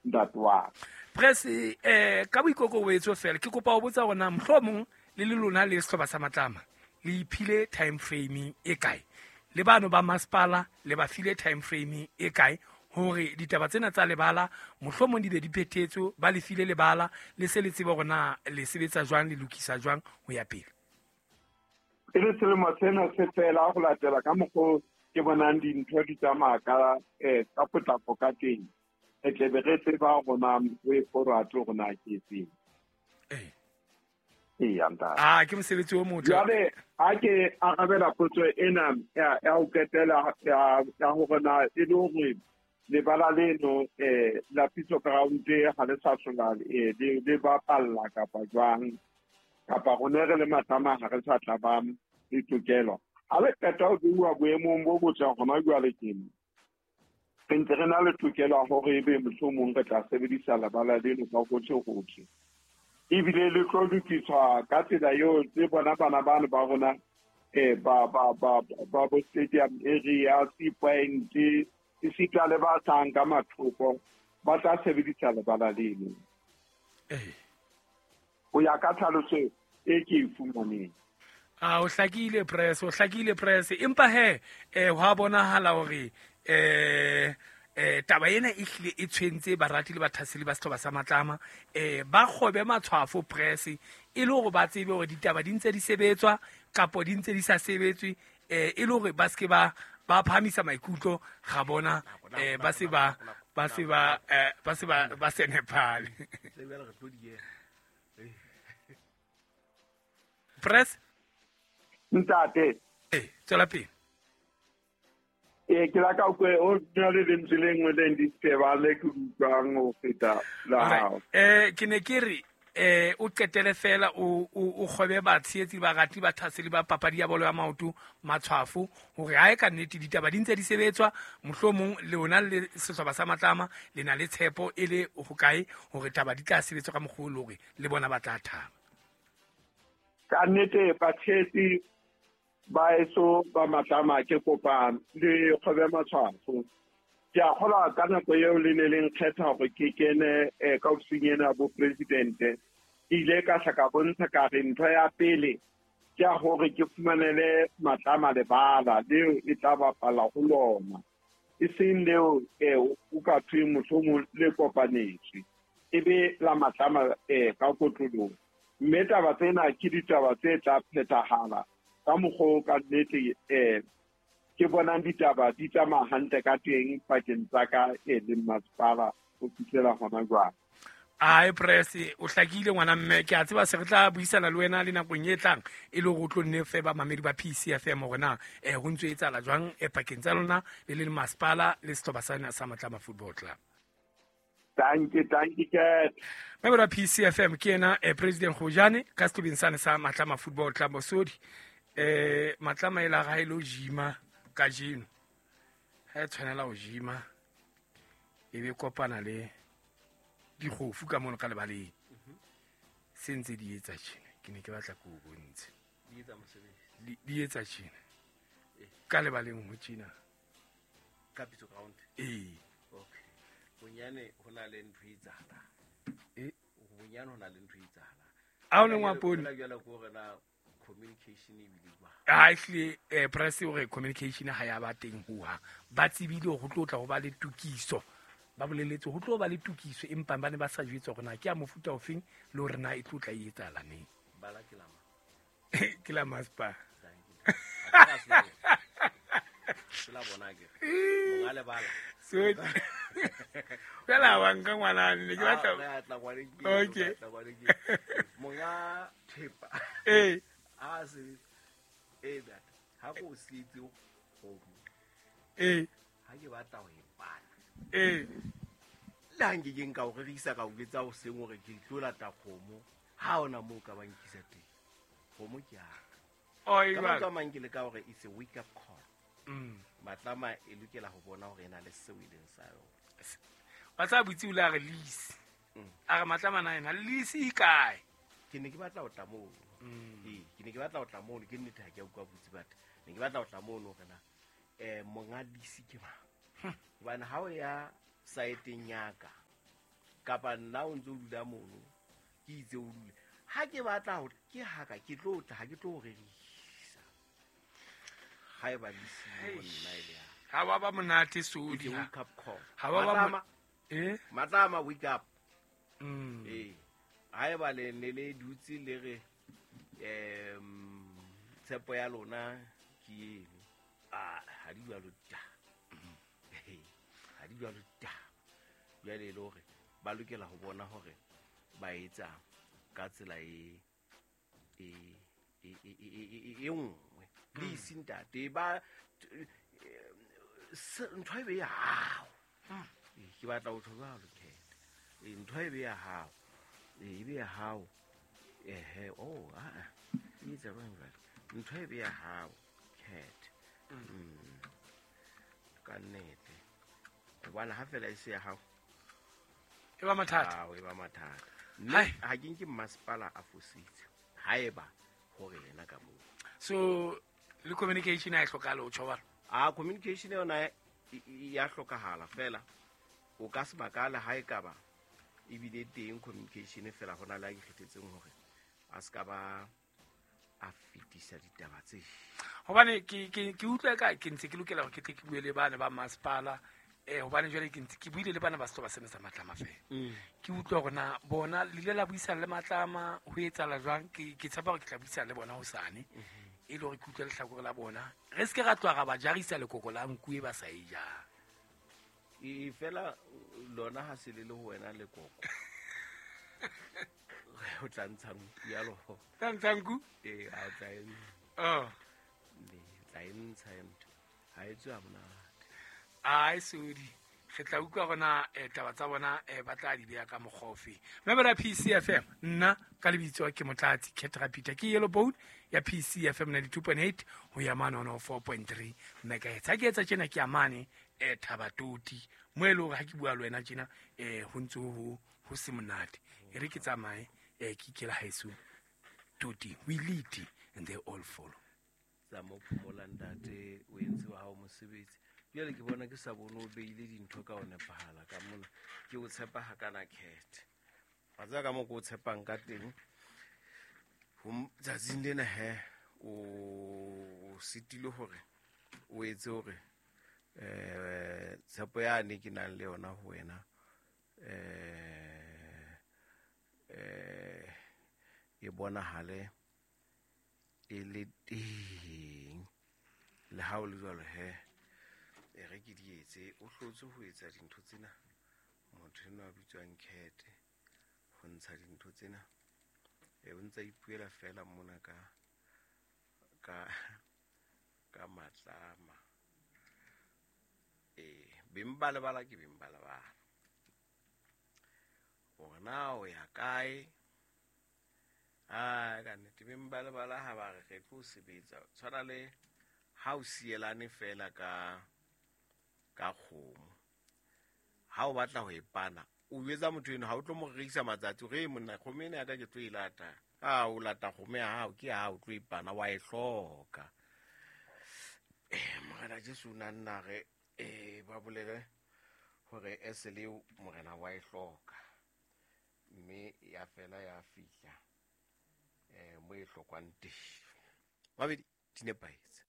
Ntate wa ka. Press ka boikokobetso fela ke kopa ho botsa hore na mohlomong le le lona le sehlopha sa Matlama le iphile time frame e kae, le bano ba masepala le ba file time frame e kae hore ditaba tsena tsa lebala mohlomong di be di phethetswe, ba le file lebala le se le tsebe hore na le sebetsa jwang, le lokisa jwang ho ya pele? E le selemo sena se fela ho latela ka mokgo ke bonang dintho di tsamaya ka potlako ka teng, re tle be re tseba hore na way forward hore na ke efeng. Eya, ntate. Ah, ke mosebetsi o motle. Jwale ha ke arabela potso ena ya ho qetela ya hore na e le hore lebala leno la Pitso Ground ha le sa hlola le bapalla kapa jwang, kapa rona re le Matlama ha re sa tla ba le tokelo. Ha le qeta ho beuwa boemong bo botle hona jwale tjena, re ntse re na le tokelo ya hore ebe mohlomong re tla sebedisa lebala leno ka hohle-hohle. Ebile le tlo lokiswa ka tsela eo le bona bana bano ba rona ba bo stadium area, Sea Point, esita le ba hlahang ka mathoko ba tla sebedisa lebala leno. Ho ya ka tlhaloso e ke e fumaneng. Ah, o hlakile press, o hlakile press. Empa he, hwa bonahala hore taba ena e hlile e tshwentse barati le bathaseli ba sehlopha sa Matlama. Ba kgobe matshwafo press e le hore ba tsebe hore ditaba di ntse di sebetswa kapo di ntse di sa sebetswe, e le hore ba seke ba phahamisa maikutlo ga bona, ba se ba, ba se ba, ba se ba, ba se nepale. Press? Ntate. Tswela pele. Ke la ka kwe o na le lentswe le nngwe le disturbang le ke utlwang ho feta la hao. Ke ne ke re, o qetele fela o kgobe batshehetsi, barati, bathaseli ba papadi ya bolo ya maoto matshwafo hore ha e ka nnete ditaba di ntse di sebetswa, mohlomong lona le sehlopha sa Matlama le na le tshepo e le hokae hore taba di tla sebetswa ka mokgwa o le hore le bona ba tla thaba. Ka nnete batshehetsi ba eso ba Matlama ke kopa le kgobe matshwafo. Ke a kgolwa ka nako eo le ne le nkgetha hore ke kene ka ofising ena bo presidente. Ke ile ka hla ka bontsha ka re ntho ya pele ke ya hore ke fumanele Matlama lebala leo e tla bapala ho lona, e seng leo o ka thweng mohlomong le kopanetswe, e be la Matlama ka kotloloho. Mme taba tsena ke ditaba tse tla phethahala ka mokgwa o ka nnete ke bonang ditaba di tsamaya hantle ka teng pakeng tsa ka le masepala ho fihlela hona jwale. Ai press, o hlakile ngwana mme, ke a tseba se re tla buisana le wena le nakong e tlang e le hore o tlo nne fe ba mamedi ba PCFM hore na ho ntso etsahala jwang pakeng tsa lona le le masepala le sehlopha sa sa Matlama Football Club. Thank you, thank you, Kat. Mamedi wa PCFM ke yena President Kgojane ka sehlopheng sane sa Matlama Football Club Bosodi. Matlama e la ga e lo jima kajeno. Ha e tshwanela ho jima e be kopana le dikgofu ka mono ka lebaleng. Se ntse di etsa tjena, ke ne ke batla ke o bontshe. Di etsa mosebetsi. Di etsa tjena. Ka lebaleng ho tjena. Ka Pitso Ground? Ee. Okay. Bonyane ho na le ntho e etsahalang. Bonyane ho na le ntho e etsahalang. A o le ngwapone? Jwale jwale ke hore na communication e bile jwang? Ha ehlile, press o re communication ha ya ba teng ho hang. Ba tsebile hore ho tlo tla ho ba le tokiso. Ba boleletse ho tlo ba le tokiso, empa ba ne ba sa jwetswa hore na ke ya mofuta ofeng le hore na e tlo tla e etsahala neng. Bala ke la mang? Ke la masepala. Ke la bona ke. Monga lebala. So, fela wa nka ngwana ne ke batla. Ah, re a tla ngwaneng ke, Okay. re a tla ngwaneng ke. Monga thepa. Ee. A se, ee, that. Ha ko sietse kgomo. Ee. Ha ke batla ho e bala. Ee. Le ha nke ke nka o rerisa ka o jwetsa hoseng hore ke tlo lata kgomo, ha hona moo ka ba nkisa teng. Kgomo ke ya ka. Oh, e Ka jwalo. mantswe a mang ke leka hore it's a wake up call. Matlama e lokela ho bona hore e na le seo e leng sa yona. Wa tseba botsi o le a re lease. A re Matlama na ena lease e kae? Ke ne ke batla ho tla mono. Ee, ke ne ke batla ho tla mono, ke nnete ha ke a utlwa botsi batho. Ne ke batla ho tla mono hore na, monga lease ke mang? Hobane ha o ya saeteng ya ka, Kapa nna o ntse o dula mono ke itse o dule. Ha ke batla hore ke haka ke tlo tla ha ke tlo rerisa. Ha e ba le siyo nna ile ya. Ha wa ba monate Sodi. Wake up call. Ha wa ba Matlama wake up. Ha e ba le ne le dutse le re tshepo ya lona ke eno. Ha di jwalo ta. Ha di jwalo ta. Jwale le hore ba lokela ho bona hore ba etsa ka tsela e nngwe. Le isintate ba ntho e be ya hao. Ke batla ho tjho jwalo ke. Ntho e be ya hao. E be ya hao. E etsa jwang jwale? Ntho e be ya hao cat. Ka nnete. Hobane ha fela e se ya hao e ba mathata. E ba mathata. Mme ha ke nke masepala a fositse. Haeba hore yena ka moo. So le communication ha e hlokahale o tjho jwalo? Communication yona ya hlokahala fela. O ka se makale ha e ka ba ebile teng communication fela hona le a ikgethetseng hore a se ka ba a fetisa ditaba tse. Hobane ke utlwa ka ke ntse ke lokela hore ke tle ke bue le bana ba masepala. Hobane jwale ke ntse ke buile le bana ba sehlopha sena sa Matlama fela. Ke utlwa hore na bona le ile la buisana le Matlama ho etsahala jwang. Ke tshepa hore ke tla buisana le bona hosane. E le hore ke utlwe lehlakore la bona. Re se ke ra tloha ra ba jarisa lekoko la nku e ba sa e jang. E fela lona ha se le le ho wena lekoko. O tla ntsha nku ya loho. Tla ntsha nku? A tla e tla e ntsha ntho. Ha e tswe ha monate. Ai Sodi, re tla utlwa rona taba tsa bona ba tla di beha ka mokgwa ofe. Memela PCFM nna ka lebitso ke Motlatsi Ketra Peter ke Yellow Bone ya PCFM 92.8 ho ya mane 104.3 megahertz. Ha ke etsa tjena ke amane Thabatoti mo e le hore ha ke bua le wena tjena ho ntse ho se monate. E re ke tsamaye ke ikela haeso Toti, we lead and they all follow. Tsa mo phomola ntate o entse wa hao mosebetsi. Jwale ke bona ke sa bone o beile dintho ka ho nepahala ka mona. Ke o tshepa ha kana cat. Wa tseba ka moo ke o tshepang ka teng. Ho tsatsing lena he o sitile hore o etse hore tshepo yane ke nang le yona ho wena e bonahale e le teng. Le ha o le jwalo he e re ke di etse o hlotse ho etsa dintho tsena. Motho enwa a bitswang Cat ho ntsha dintho tsena o ntsa ipuela fela mona ka Matlama. Beng ba lebala ke beng ba lebala. Hore na o ya kae? Ka nnete beng ba lebala ha ba re re tlo sebetsa. Tshwana le ha o sielane fela ka kgomo. Ha o batla ho e pana, o jwetsa motho eno ha o tlo mo rekisa matsatsi re monna kgomo ena ya ka ke tlo e lata. O lata kgomo ya hao ke ya hao tlo e pana wa e hloka. Morena Jesu na nna re ba bolele hore esele morena wa e hloka. Mme ya fela ya fihla mo e hlokwang teng. Mabedi di nepahetse.